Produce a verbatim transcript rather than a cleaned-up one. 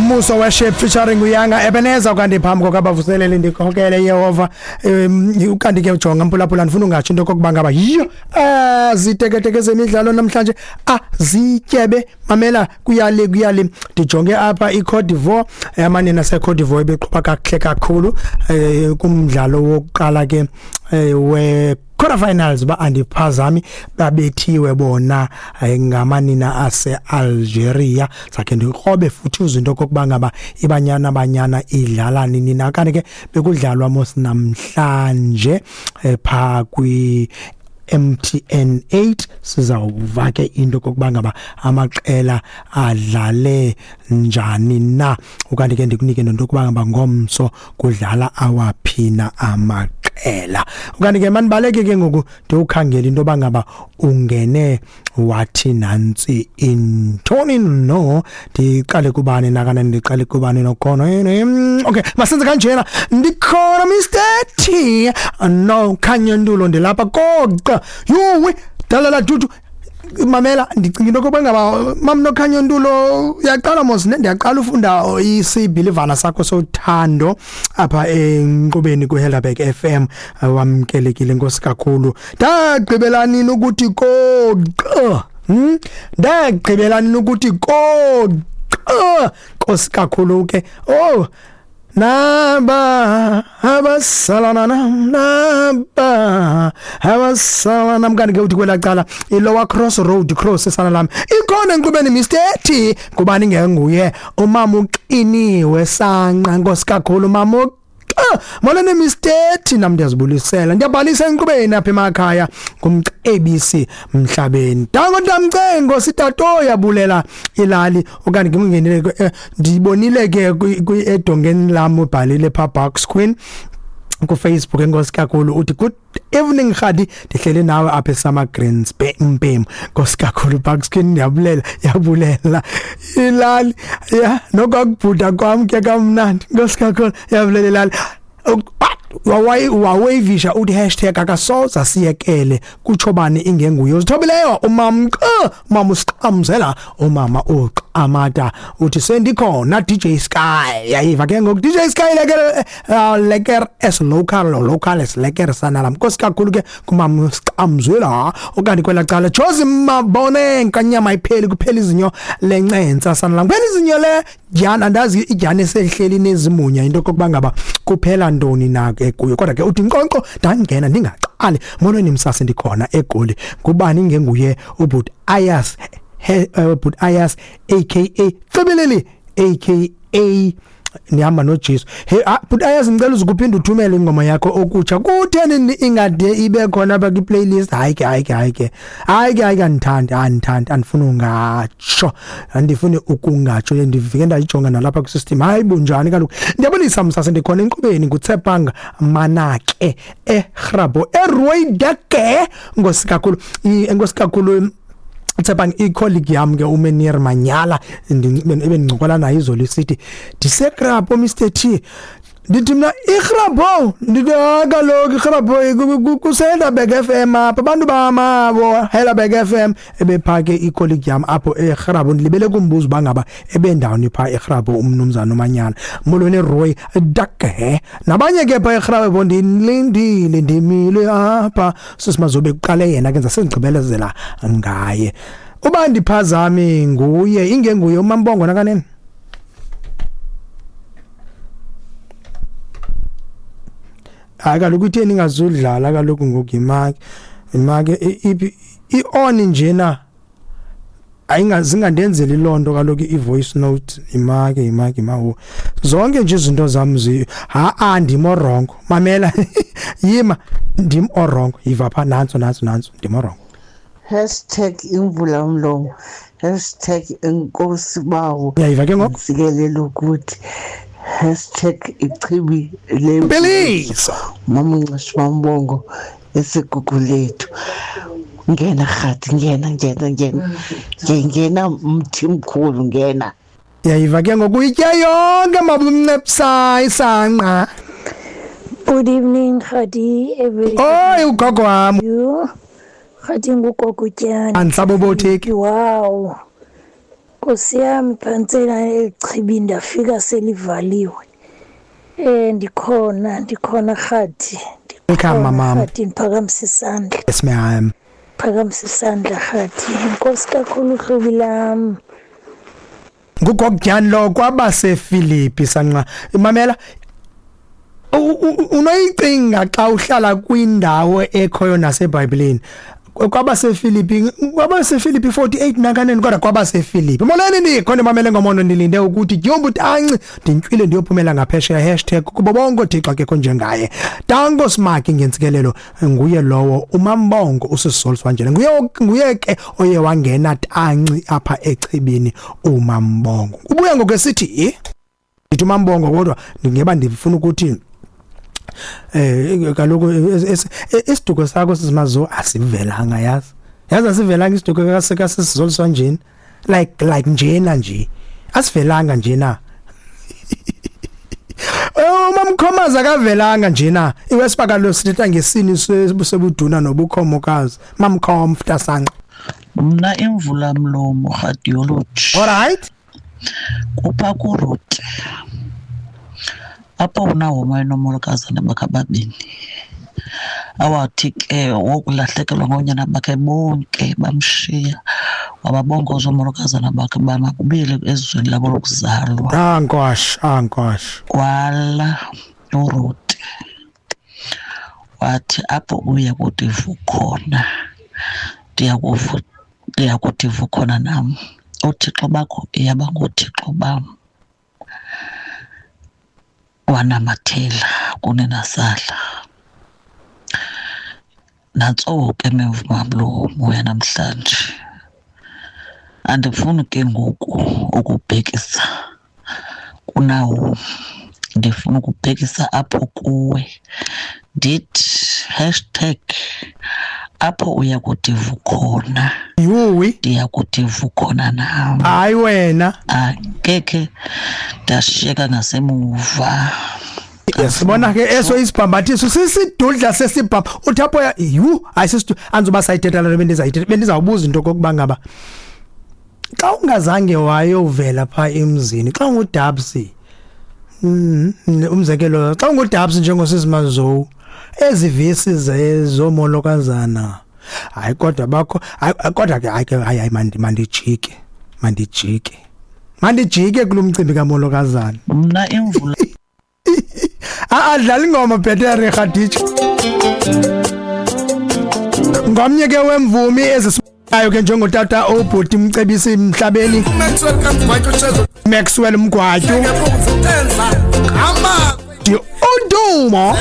Muso Worship featuring Uyanga Ebenezer. Kanti phambi kokabavuselele ndikhokele Yehova, ukanti ke ujonga mphulaphula, ndifuna ungatsho into kokuba ngaba yiyo ziteketeke zemidlalo namhlanje azityebe. Mamela, kuyale kuyale ndijonge apha iCote d'Ivoire, amanina seCote d'Ivoire beqhuba kakuhle kakhulu kumdlalo wokuqala ke we quarter finals, ba andiphazami, babethiwe bona ngamanina ase Algeria. Sakhe ndikrobe futhi izinto kokuba ngaba ibanyana banyana idlala nini na. Kanti ke bekudlalwa mos namhlanje pha kwi M T N eight, sizawuva ke into kokuba ngaba amaqela adlale njani na. Ukanti ke ndikunike nento kokuba ngaba ngomso kudlala awaphina amaqela. Ukanti ke manibaleke ke ngoku ndiwukhangela into yoba ngaba ungene wathi nantsi intoni. No, ndiqale kubani nakana ndiqale kubani nokhona. Okay, masenze kanjena, ndikhona Mister T no Khanyandulo, ndilapha koqa yuwe dalala dudu. Mamela, ndicinga into yokuba ngaba mamNokhanyandulo uyaqala mos, ndiyaqala ufunda isibilivana sakho sothando apha enkqubeni kuHelderberg F M. Wamkelekile, inkosi kakhulu. Ndagqibela nini ukuthi koqa? Hmm? Ndagqibela nini ukuthi koqa? Nkosi kakhulu ke. Oh, naba abasalana naba abasalana. Mkanti ke uthi kwela cala iLower Cross Road Cross esana lami ikhona enkqubeni Mister T, kubani ngenguye umama uqiniwe sanqa. Nkosi kakhulu mama, molweni Mister T, nam ndiyazibulisela, ndiyabhalisa enkqubeni apha emakhaya ngumcebisi mhlabeni. Dango ndamcengo sitato yabulela ilali. Okanye ngingenile ndibonile ke edongeni lam ubhalile pha Box Queen ku Facebook, enkosi kakhulu, uthi good evening Khadi, ndihlele nawe apha eSummer Greens Mpem. Nkosi kakhulu Box Queen, ndiyabulela yabulela ilali ya nokubhuda kwam ke kamnandi. Nkosi kakhulu, yabulela ilali. Wawayivisha uthi hashtag akasoza siyekele kutsho bani ingenguye uzithobileyo umama umama usiqamzela umama uqamata uthi sendikhona D J Sky. Yayiva ke ngoku D J Sky leker leker as local local as leker sana lam. Nkosi kakhulu ke kumama usiqamzela. Okanye kwela cala Jozi Mabone nkanyama ipheli kuphela izinyo lencentsa sana lam, kuphela izinyo le dyana, andazi idyana esehleli nezimunya into kokuba ngaba kuphela ntoni na ke kuyo. Kodwa ke uthi nkonko ndangena ndingaqali. Molweni msase, ndikhona eGoli. Kubani ngenguye ubhuti Ayas, ubhuti Ayas aka Cebeleli aka nihamba noJesu. Hey bhuti Ayas, ngicela uzukuphinda uthumele ingoma yakho okutsha. Kutheni ingade ibe khona apha kwi-playlist? Hayi ke hayi ke hayi ke hayi ke hayi ke andithandi andithandi andifuni ungatsho, andifuni ukungatsho. Ndifike ndayijonga nalapha kwi-system. Hayi bunjani kaloku. Ndiyabonisa msase, ndikhona enkqubeni nguTsepang Manake eGrabo eRooideke. Nkosi kakhulu, enkosi kakhulu Tsepang, i-colleague yam ke uMenir Manyala ebendincokola naye izolo isithi ndiseGrabo Mister T. Ndithi mna iGrabo, ndithi kaloku iGrabo kuseHelderberg F M apha, abantu bamabo Helderberg F M. Ebephake i-colleague yam apho eGrabo, ndilibele kumbuzo uba ngaba ebendawoni phaa eGrabo umnumzana uManyala. Molweni Roy Dake nabanye ke phaa eGrabo, ndilindile ndimile apha sisimazobe kuqale yena ke ngizasendigqibelezela ngaye. Uba ndiphazami nguye ingenguye uMambongo nakanene. Hayi kaloku itheni ingazudlala kaloku ngoku imaki imaki iphi i-on njena ayingazingandenzeli lonto kaloku i-voice note imaki imaki mawo zonke nje izinto zam zi ha a ndim orongo. Mamela yima ndim orongo, yiva pha nantso nantso nantso ndim orongo. Hashtag imvula umlomo, hashtag inkosi bawo, uyayiva ke ngoku sikelele ukuthi hashtag ichibi le mama Nxashi Mambongo esigugu lethu. Ngena Khadi, ngena ngena ngena ngena mthi mkhulu ngena. Yayiva ke ngoku itya yonke mabumncepsa isanqa. Good evening Khadi, everybody. Oh ugogo wami Khadi ngugogo Tyana. Andisabobotheki. Wow. Nkosi yami, phantsela elichibi ndafika selivaliwe. Eh ndikhona, ndikhona Rhadi. Welcome, mama. Rhadi, ndiphakamisa isandla. Yes ma'am. Phakamisa isandla Rhadi. Inkosi kakhulu hlobi lam. Ngugokutyani lo kwabaseFilipi sanqa. Mamela, unoyicinga xa uhlala kwindawo ekhoyo naseBhayibhelini. KwabaseFilipi, kwabaseFilipi forty-eight nakaneni, kodwa kwabaseFilipi. Molweni nikhona mamele ngomono, ndilinde ukuthi dyombutanci ndintywile ndiyophumela ngaphesheya hashtag kubo bonke oThixo akekho njengaye. Danko Smaki ngentsikelelo, nguye lowo uMambongo usisol wanjena. Nguye nguye ke oye wangena tanci apha echibini uMambongo. Ubuya ngokwesithi ndithi uMambongo, kodwa ndingeba ndifuna ukuthi eh kaloku isiduko sakho sizimazo asivelanga, yazi yazi asivelanga isiduko kasisizolisa njena, like like njena nje asivelanga njena. Umamkhomaza akavelanga njena. Iwesibakalo sithetha ngesini sebuduna nobukhomokazi. Mamkhomfta sanqa. Mna imvula mlomo radiology. All right. Kupha kurote. Apho uNahomi nomolokazana bakhe ababini, awathi ke wokulahlekelwa ngoonyana bakhe bonke bamshiya, wababongoza oomolokazana bakhe uba makubuyele ezweni labo lokuzalwa. Ankosh, ankosh. Wala uRute wathi apho uya kuthi vu khona, ndiyakuvu, ndiyakuthi vu khona nam. Oothixo bakho iyaba ngoothixo bam. Wanamathela kunenasala. Nantso ke memvumamlomo yanamhlanje. Andifuni ke ngoku ukubhekisa kunawo, ndifuna ukubhekisa apho kuwe. Ndithi hashtag apho uya kuthi vu khona. Yuwi, ndiya kuthi vu khona nam. Hayi wena. Angekhe ndashiyeka ngasemuva. Sibona ke eso isibhambathiso sisidudla sesibham. Uthi apho yu ayisistu anzoba sayithetha le bendizayithetha, bendizawubuza into kokuba ngaba xa ungazange wayovela pha emzini, xa ungudabsi, umzekelo xa ungudabsi njengosisimazo, ezi vesi zezomolokazana, hayi kodwa bakho, hayi kodwa ke hayi hayi mandijike mandijike mandijike kulomcimbi kamolokazana. Mna imvula adlala ingoma bhetere Khadija. Ngomnye ke wemvumi ezisibayo ke njengotata obhuti Mcebisi emhlabeni, Maxwell Mgwatyu, Udumo.